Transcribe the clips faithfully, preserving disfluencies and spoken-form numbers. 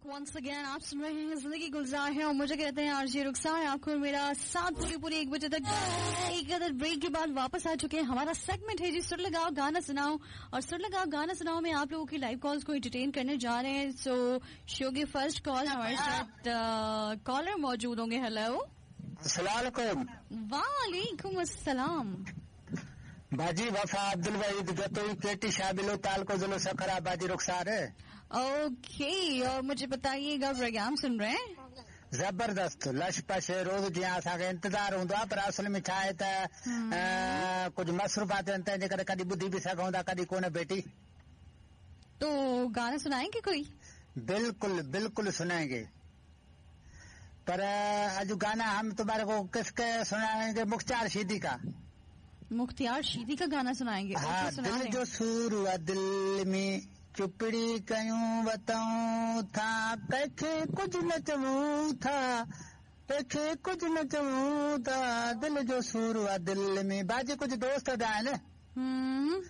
Once again आप सुन रहे हैं जिंदगी गुलजार है और मुझे कहते हैं आरजे रुखसार। आपको मेरा साथ पूरी पूरी एक बजे तक। एक अदर ब्रेक के बाद वापस आ चुके हैं। हमारा सेगमेंट है जी सुर लगाओ गाना सुनाओ, और सुर लगाओ गाना सुनाओ में आप लोगों की लाइव कॉल्स को एंटरटेन करने जा रहे हैं। सो शो के फर्स्ट कॉल हमारे साथ कॉलर मौजूद होंगे। हेलो, अस्सलाम वालेकुम। वालेकुम अस्सलाम। बाजी वफा अब्दुल वहीद जतोई केटी शाबिलो तालको जिलो सखरा। बाजी रुखसार है। ओके, और मुझे बताइएगा प्रोग्राम सुन रहे हैं? जबरदस्त लश पश रोज़ जीअं असांखे इंतज़ार हूंदो आहे, पर असल में छा आहे त कुझु मसरूफ़ात आहिनि, तंहिंजे करे कॾहिं ॿुधी बि सघूं था, कॾहिं कोन। बेटी तो गाना सुनाएंगे कोई? बिल्कुल बिल्कुल सुनाएंगे, पर अॼु गाना हम तुम्हारे को किसके सुनाएंगे? मुख्तियार शीदी का। मुख्तियार शीदी का गाना सुनाएंगे? हाँ, दिल जो सूर आहे दिल में चुपड़ी कयूं वतऊं था, कंहिंखे कुझु न चऊं था, कंहिंखे कुझु न चऊं था, दिल जो सूर आहे दिल में। बाजी कुझु दोस्त बि आहिनि।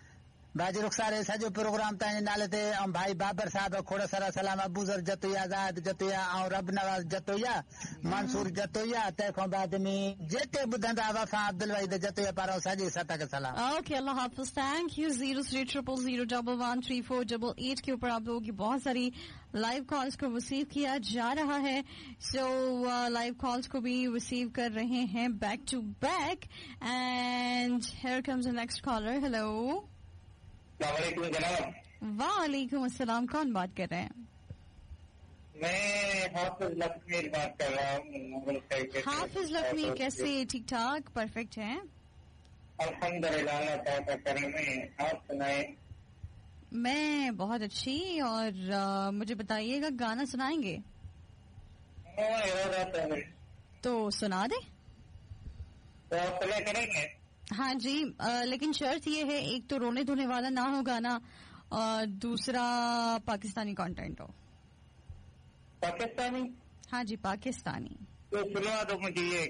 बाजी रुखसार सॼो प्रोग्राम तव्हांजे नाले ते ऐं भाई बाबर साहब खोड़ सारा सलाम, अबूज़र जतोया, आज़ाद जतोया ऐं रब नवाज़ जतोया, मंसूर जतोया, तंहिंखां बाद में जेके ॿुधंदा वफा अब्दुल वहीद जतोया पारां सॼे सत खे सलाम। Okay, Allah Hafiz. Thank you. Zero three triple zero double one three four double eight के ऊपर आप लोगों की बहुत सारी लाइव कॉल्स को रिसीव किया जा रहा है। सो लाइव कॉल्स को भी रिसीव कर रहे हैं back to back. And here comes the next caller. Hello, अस्सलामुअलैकुम जनाब। वालेकुम अस्सलाम। कौन बात कर रहे हैं? मैं हाफिज लखमीर बात कर रहा हूँ। हाफिज लखमीर, कैसे? ठीक ठाक, परफेक्ट हैं? अल्हम्दुलिल्लाह, अल्लाह का करम है। आप सुनाए? मैं बहुत अच्छी। और आ, मुझे बताइएगा गाना सुनाएंगे? तो सुना दे। तो प्ले करेंगे? हाँ जी, आ, लेकिन शर्त ये है, एक तो रोने धोने वाला ना हो गाना, और दूसरा पाकिस्तानी कंटेंट हो। पाकिस्तानी? हाँ जी, पाकिस्तानी। तो सुना दो मुझे ये।